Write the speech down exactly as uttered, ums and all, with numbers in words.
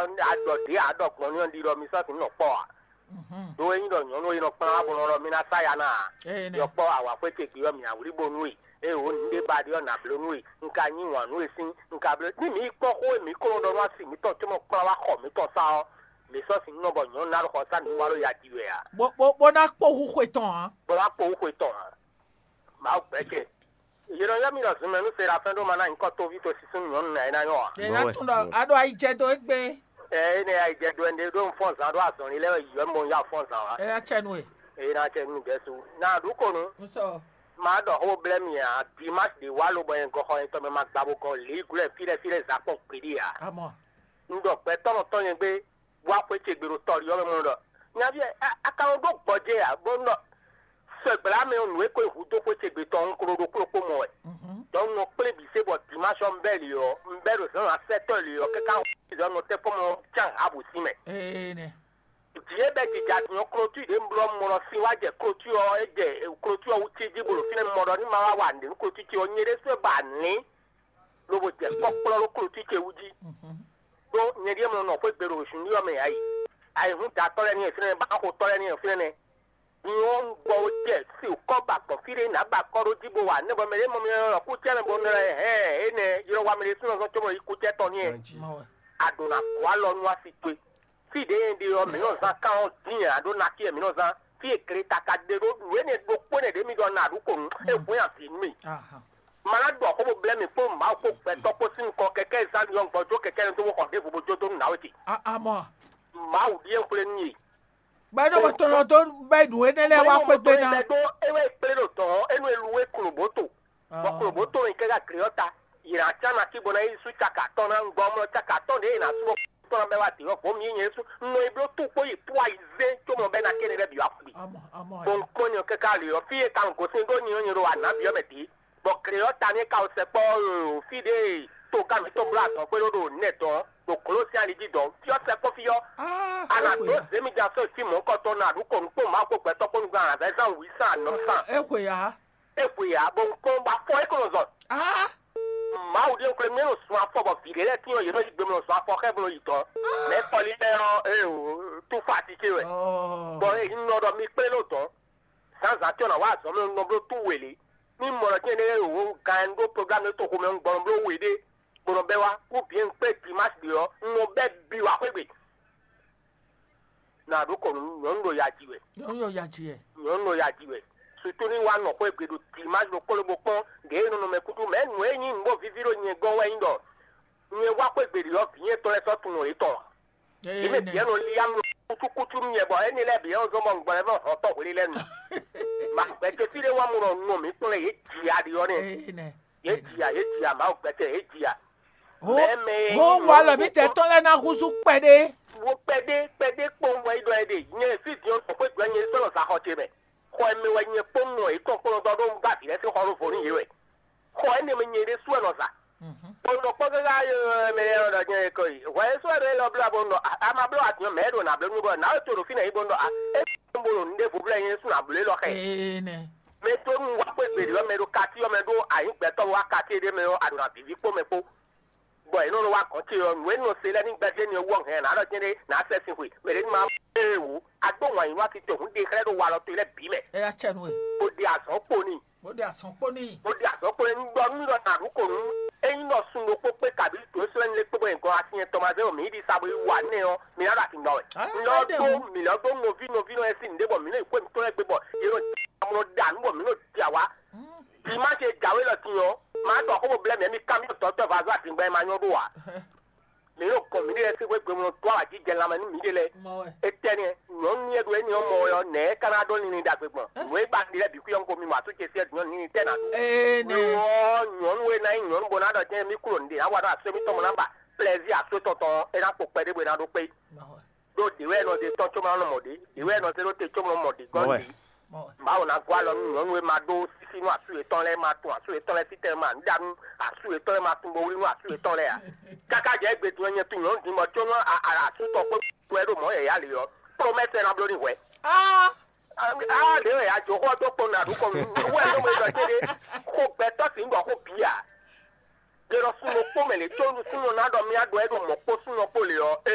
Aɖɔ ɖě aɖɔ gbɔn ní ɔ́ ɖiɖɔ mi sɔ́ sin nɔ kpɔ́ ǎ. Ɖó é nyí ɖɔ nyɔ̌nu e nɔ kplán wá bó nɔ ɖɔ mi ná sá ya ná ǎ. Yɔkpɔ́ awǎxwé ce gbe ɔ́ mǐ awlí bónú e, ée wǒ nǔɖé ba ɖe ɔ́ nǎ bló nú we. Un ka nyí wǎn nú we sín, un ka bló ní mǐ yi kpɔ́n xó e mǐ ko nɔ ɖɔ nú asi mǐtɔn cóbɔ kplán wá xɔ mǐtɔn sá ɔ́, mǐ sɔ́ sin nɔ bɔ nyɔ̌nu ná ɖo xɔ sá nǔ wá ɖo ya ji wɛ ǎ. Bó bó bó ná kpó hú xwe tɔn ǎ. Bó ná kpó hú xwe tɔn ǎ. Mawu gbɛ́ ce. Yě nɔ ylɔ́ mì ɖɔ zunmɛ nú Serafɛ́n ɖó ma ná nyǐkɔ tóví to sísún nyɔ̌nu nǎ é ná nyɔ́ ǎ. Ě ná Nɔwe, tún ɖɔ nɔwe. A ɖo ayi jɛ dó égbé. Ɛ énɛ́ ayi jɛ dó ɛnɛ ɖó un fɔ́n zǎn ɖó azɔ̌lin lɛ́ɛ wɛ yǐyɔ mɔ un yá fɔ́n zǎn wá. É ná cɛ nú we. Eye ná cɛ nú Jɛsu. Ná ɖu ko nu. Un sɔ. Má ɖɔ xó blɛ́ mi ǎ, Dimási ɖě wá lobɔ nyɛ gɔxɔ nyɛtɔn mɛ ma gba bó gɔn lǐ glɔ́ fí ɖɛ́ fí ɖɛ́ zǎn kpɔn gbeɖé ǎ. Amɔ. Un ɖɔ gbɛtɔ́ nɔ tɔn nyɛ gbé, wá xwé ce gbe ɖo tɔlí ɔ́ mɛ mɔ ɖɔ. Nyaví ɛ, a- a ka nɔ ɖó gbɔjɛ́ ǎ, bó nɔ sɛgbla mɛ ɔ́ nǔ e ko yi hudó xwé ce gbe tɔn un ko ɖo ɖokpó ɖokpó mɔ wɛ. Mhm. Donc un nɔ kplé bǐ se bɔ dimanche ɔ́ un bɛ́ lě ɔ́, un bɛ́ ɖo zǎn asɛtɔ́ lě ɔ́ káká zɔ nɔ tɛ́ kpɔ́n mɔ cán ha bǔ sín mɛ. Ee nɛ. Jǐ e bɛ́ jija din ɔ́, klotú ɖě un bló ɔ́, un mɔ ɖɔ sin wá jɛ klotú ɔ́, é jɛ klotú ɔ́ wú cí jí bolo fínɛ́ un mɔ ɖɔ ní ma wá wa nǔɖé nú klotú ce ɔ́, nyɛ ɖésú wɛ ba nǐ lobo jɛ kpɔ́kplɔ́ ɖó klotú ce wú jí. Mhm. Ɖó nyɛ ɖíe mlɔ nɔ xwé gbe ɖo zunɖí ɔ́ mɛ ǎ yi. Ayǐhúndatɔ́ lɛ́ɛ ní e fínɛ́, báxotɔ́ lɛ́ɛ ní e fínɛ́. Din ɔ́, un gbɔ jɛ si kɔ́ ba gbɔn fí ɖé nǎ ba kɔ́ ɖó jí bó wa nɛ́ bɔ mɛ ɖé mɔ mì lɔ kúcɛ́ mɛ bó nɔ hɛn énɛ́ ylɔ́ wa mɛ ɖé súnɔ zɔn cóbɔ yi kúcɛ́ tɔn n'i wɛ. Má wɛ. A ɖǒ ná kó alɔ nú asi towe. Fí ɖě e ɖe ɔ́, mǐ nɔ zán kán ɔ́ dín ǎ ɖó ná fí e mǐ nɔ zán. Fí e gle ta ka ɖe ɖó nǔ énɛ́ ɖokpó nɛ́ ɖě mi ɖɔ nǎ ɖu kǒ nu, é hwɛ́n avǐ nú mì. Aha. Ma ná ɖɔ xó bó blɛ́ mì kpó Mawu kpó gbɛtɔ́ kpó sín nukɔn kɛkɛ́ zán ɖiɔ un gbɔ jó kɛkɛ́ nú dó bó xɔ ɖěvo bó jó dó nú nǎwe ce. A- Amɔ. Mawu ɖíe xwlé nú yě. Bɔ é ɖo tɔnɔ dó bɛ ɖu énɛ́ lɛ́ɛ wá xwé gbe ná. Mɛ ɖó é wɛ kplé ɖo dɔ̌n ɔ́, é nú e lu é klobǒto. Bɔ klobǒto e kɛ́ gá gle ɔ́ ta, yě ná cá ná cí bó ná yi sú caka atɔ́ɔ́n ná, un gbɔ mlɔ caka atɔ́ɔ́n ɖě è nǎ sú ɔ́ tɔn ná bɛ́ wá dě ɔ́, vɔ̌ mǐ nyɛ sú un nɔ yi bló tú kpó yi pú ayi zé có mɔ bɛ́ ná kéne lɛ́ɛ bǐ wá xwé. Amɔ amɔ Bó un kpɔ́n nyɛ káká lě ɔ́, fí e ka un gosín ɖó nyi ɔ́ nyɛ ɖo wǎ ná byɔ́ mɛ dě, bɔ gle ɔ́ ta ní é ka wɛ sɛkpɔ́ ɔ́, fí ɖě e togán mǐtɔn bló azɔ̌ gbé ɖó ɖo nɛ dɔn ɖo glǒ sín ali jí dɔn, fí ɔ́ sɛkpɔ́ fí ɔ́, a nǎ dó zě mi ja sɔ́ yi fí mɔ̌hunkɔtɔn nú aɖǔkɔnú kpó Mawu kpó gbɛtɔ́ kpó nukún alǎvɛ́zán wǐ sán anɔ̌ sán. É xwe ǎ. É xwe ǎ, bɔ un kpɔ́n bɔ afɔ é ko nɔ zɔn. Á! Mawu ɖíe un xwlé mì é nɔ sun afɔ bɔ vǐ ɖé lɛ́ɛ tín ɔ́, yě nɔ yi gbe mɔ sun afɔ xá bó nɔ yi dɔ̌n. Mɛ kɔlí lɛ́ɛ ɔ́, ee o, túfá ati ce wɛ. Ɔɔ. Bɔ é nɔ ɖɔ mi kplé ɖó dɔ̌n. Zǎnzǎn tɔn ná wá azɔ̌ mɛ un nɔ bló tú wělé. Ní mɔ ɖɔ tɛ́nɖé o gan ɖó programme to xomɛ un gbɔn bló we ɖé, bó nɔ bɛ́ wá, ou bien un kpé dimanche ɖě ɔ́, un nɔ bɛ́ bi wá xwé gbe. Nǎ ɖó kɔ nú nyɔ̌nu ɖo ya ji wɛ. Nyɔ̌nu ɖo ya ji wɛ. Nyɔ̌nu ɖo ya ji wɛ. Sutu ní wá nɔ xwé gbe ɖo dimanche ɖokpó lóbó kpɔ́n ɖě e nɔ nɔ mɛ kúkú mɛ nǔ e nyí nǔ bó víví ɖo nyɛ gɔ́n wɛ nyí ɖɔ nyɛ wá xwé gbe ɖě ɔ́, vǐ nyɛ tɔn lɛ́ɛ sɔ́ tunwun yětɔn ǎ. Yě mɛ bǐ nɔ lí amlɔ kúcúkúcú nú nyɛ bɔ énɛ́ lɛ́ɛ bǐ ɔ́ zɔ́n bɔ un gbɔ lɛ́ vɔ́ hɔn tɔ́ hwelé lɛ́ɛ nu. Ma gbɛtɔ́ fí ɖé wá mɔ ɖɔ nɔ mǐ kplɔ́n yě ji aɖi ɔ́ nɛ́. Ee nɛ. Yě ji a, yě ji a, Mawu gbɛtɔ́ yě ji a. Ho Mɛ mɛ e ho nyí wa lɔ mǐ tɛ tɔn lɛ́ɛ ná húzú kpɛɖé. Wo kpɛɖé kpɛɖé kpɔ́n wɛ yi ɖɔ ɛ ɖe. Nyɛ fí din ɔ́ tɔn xwé gbɛ nyɛ sɔ́ lɔ zǎxɔ ce mɛ. Xɔ e mɛ wɛ nyɛ kpɔ́n nɔ yě tɔn kplɔ́n dɔ ɖó un ba vǐ lɛ́ɛ sín xɔ ɖó vo nú yě wɛ. Xɔ énɛ́ mɛ nyɛ ɖésú wɛ nɔ zǎ. Bó nɔ kpɔ́n káká mɛ lɛ́ɛ nɔ ɖɔ nyɛ ko yi. Hwɛ e sɔ́ ɖo élɔ́ blá bó nɔ a ma bló atin mɛ ɖo nǎ bló nú bɔ nǎ to ɖo fínɛ́ yí bó nɔ a é bó ɖo nǔɖé vo blɛ́ nyɛ ɖésú nǎ bló élɔ́ xɛ. Ee nɛ. Mɛ dó nú wá xwé gbe ɖě ɔ́, mɛ ɖo kati ɔ́ mɛ ɖó anyǐ gbɛtɔ́ wá kati ɖé mɛ ɔ́, a ɖo nǎ víví kpó mɛ kpó. Bɔ è nɔ nɔ wá gɔ̌n ce ɔ́, nǔ e nɔ se lɛ́ɛ ní gbɛ́jɛ́ ni ɔ́ wú ɔ́ hɛn nǎ ɖɔ cɛ́n ɖé nǎ sɛ sin xwe. Mɛ ɖě ní ma ée wǒ. A dó wǎn yǐ nú ati tɔn hǔn ɖe xlɛ́ ɖo walɔ towe lɛ́ɛ bǐ mɛ. É ná cɛ nú we. Bó ɖe azɔ̌ kpo n'i. Bó ɖe azɔ̌ kpo n'i. Bó ɖe azɔ̌ kpo n'i. Un ɖɔ nú ɖɔ nǎ ɖu kǒ nú. Ényí nɔ sun ɖokpó kpé kabǐ to é sɔ́ lɛ́ lé kpé bɔ nyɛ gɔn asin yɛn tɔn ma zé wɔ mǐ yi ɖi sa bó yi wa nɛ́ ɔ́, mǐ ná ɖo atin gbɔn wɛ. Mǐ nɔ dó mǐ nɔ dó nɔví nɔví nɔ e sín nǔɖé bɔ mǐ nɔ yi xwé mǐtɔn lɛ́ɛ gbé bɔ yě nɔ amlɔ ɖa nǔ bɔ mǐ nɔ ɖi awá. Dimanche e jǎwe lɔ din ɔ́, ma ɖɔ xó bó blɛ́ mǐ mi kanbyɔ́ dɔ̌tɔ́ vazɔ́ atingbɛ́ ma nyɔ́ ɖó ǎ. Mǐ ɖo gɔn mǐɖée lɛ́ɛ sín xwé gbe mlɔ dó awǎjijɛ lanmɛ nú mǐɖée lɛ́ɛ. Mɔ wɛ. Étɛ́ nɛ́, nyɔ̌nu e ɖo éní ɔ́ mɔ wɛ ɔ́, nɛ̌ é ka ná ɖó linlin ɖagbe gbɔn? Nǔ e ba ɖi lɛ́ɛ bǐ xwí ɔ́, un ko mi mɔ atú ce sí ɛ nyɔ̌nu linlin tɛ́ ná ɖu. Ee nɛ. Lo ɔ́, nyɔ̌nu e ná nyí nyɔ̌nu bó ná ɖɔ jɛ́n mí klo nǔɖé ná wa ɖo asú émítɔn mɔ ná ba plɛzí asú tɔn tɔn ɔ́, é ná kpo kpɛɖé bó é ná ɖó kpé. Mɔ wɛ. Ɖó ɖě wɛ nɔ ɖe tɔn có ma nɔ mɔ ɖě, ɖě wɛ nɔ zé ɖó te có ma nɔ mɔ ɖě gɔ́n ɖě. Mawu ná gɔ́ alɔ nú nyɔ̌nu e ma ɖó sísí nú asú yětɔn lɛ́ɛ, ma tún asú yětɔn lɛ́ɛ títɛn, ma nǔ ɖa nú asú yětɔn lɛ́ɛ, ma tún bo wlí nú asú yětɔn lɛ́ɛ ǎ. Káká jɛ égbé din ɔ́, nyɛ tunwun nyɔ̌nu din bɔ có nú asú tɔn kpó wɛ ɖo mɔ̌ yɛ̌yá lě ɔ́, promɛ́sɛ ná bló n'i hwɛ̌. Á lě wɛ a jǒ xó ɔ́ dó kpɔ́n nú aɖǔkɔn nú wɛ ɖó mɛ ɖɔ céɖé, xó gbɛtɔ́ sǐ ɖɔ xó bǐ ǎ. Ɖe ɖɔ súnnu kpó mɛ lě có nú súnnu ná ɖɔ mì aɖɔ ɛ ɖo mɔ̌ kpó súnnu kpó lě ɔ́, ee,